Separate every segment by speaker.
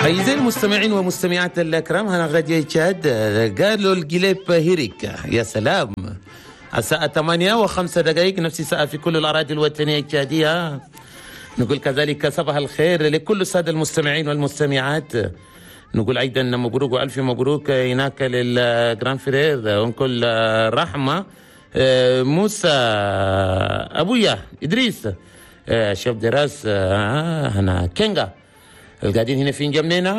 Speaker 1: أعزائي المستمعين ومستمعات الأكرام، هنا غادي تشاد قالوا القليب هيريك. يا سلام، الساعة 8:05، نفس الساعة في كل الأراضي الوطنية التشادية. نقول كذلك صباح الخير لكل السادة المستمعين والمستمعات. نقول أيضا مبروك وألف مبروك هناك لل grand frère oncle رحمة موسى أبويا إدريس chef de race هنا كينغا القاعدين هنا في انجمينا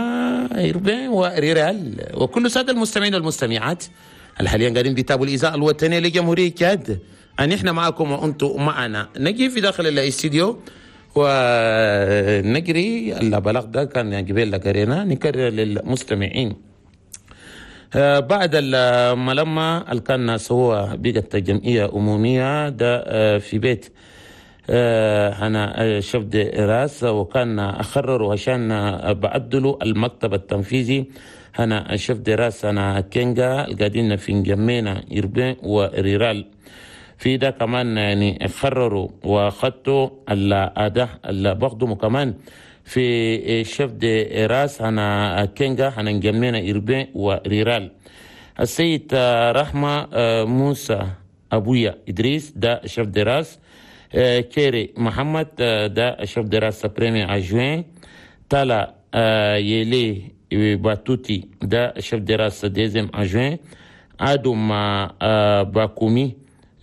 Speaker 1: urbain و rural، وكل سادة المستمعين والمستمعات الحاليا قاعدين بيتابعوا الإذاعة الوطنية لجمهورية تشاد. أن احنا معكم وأنتم معنا. نجي في داخل الاستديو ونجري البلاغ ده كان قبل قرينا نكرر للمستمعين. بعد الملمة اللي كان سوى بقت جمعية أمومية ده في بيت هنا chef de race، وكان أخرروا عشان بعدلوا المكتب التنفيذي هنا chef de race هنا كينغا القاعدين في انجمينا urbain و rural. في ده كمان يعني خرروا وخدتوا الأداء اللي بخدموا كمان في chef de race هنا كينغا هنا انجمينا urbain و rural. السيد رحمة موسى أبويا إدريس ده chef de race. كيري محمد ده chef de race premier adjoint. تالا يلي باتوتي ده chef de race deuxième adjoint. آدم باكومي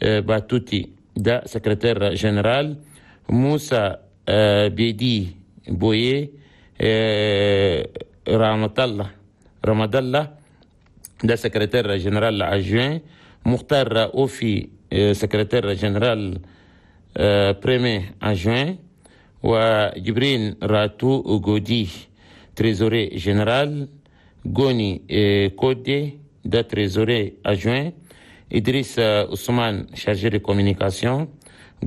Speaker 1: باتوتي ده secrétaire général. موسى بيدي بويه رحمة الله رمض الله ده secrétaire général adjoint. مختار أوفي secrétaire général premier adjoint. وجبرين راتو غودي trésorier général. غوني كودي ده trésorier adjoint. إدريس عثمان chargé de communication.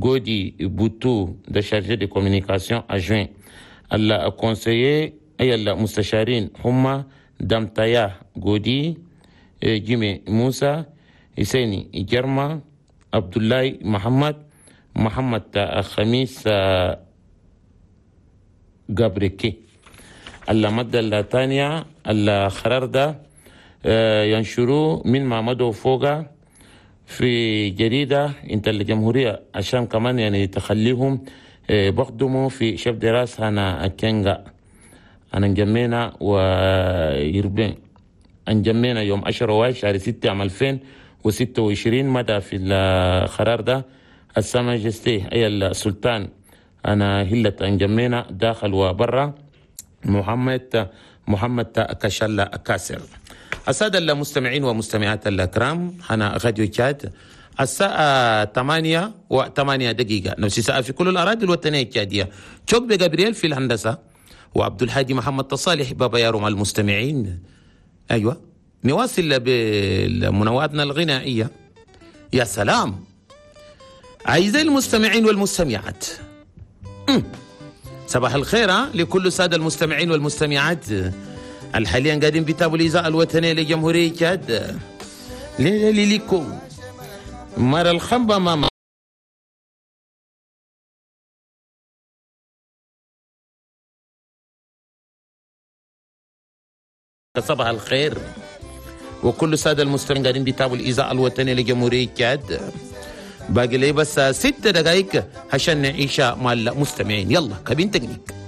Speaker 1: غودي بوتو ده chargé de communication adjoint. ال conseillers أي المستشارين هما دمتايا غودي، جيمي موسى، حسيني جرما، عبد الله محمد، محمد خميس جابريكي. المادة الثانية القرار ده ينشروه من محمد فوقا في جريدة انت الجمهورية عشان كمان يعني تخليهم بخدموا في chef de race هنا كينغا أنا انجمينا و urbain انجمينا يوم 10 شهر 6 عام 2026. مدى في القرار ده ال sa majesté أي السلطان أنا هلة انجمينا داخل وبرا محمد كشلا كاسر. السادة المستمعين ومستمعات الأكرام، هنا راديو تشاد الساعة 8:08، نفس الساعة في كل الأراضي الوطنية التشادية. تشوك بجابرييل في الهندسة وعبد الهادي محمد تصالح بابا يارو مع المستمعين. أيوة نواصل بمنوعاتنا الغنائية. يا سلام أعزائي المستمعين والمستمعات، صباح الخير لكل السادة المستمعين والمستمعات الحاليا قاعدين بيتابعوا الإذاعة الوطنية لجمهورية تشاد. ليليكو مر الخنبة ماما صباح الخير وكل السادة المستمعين قاعدين بيتابعوا الإذاعة الوطنية لجمهورية تشاد. باقي لي بس 6 دقائق عشان نعيش مع المستمعين. يلا كابين تكنيك.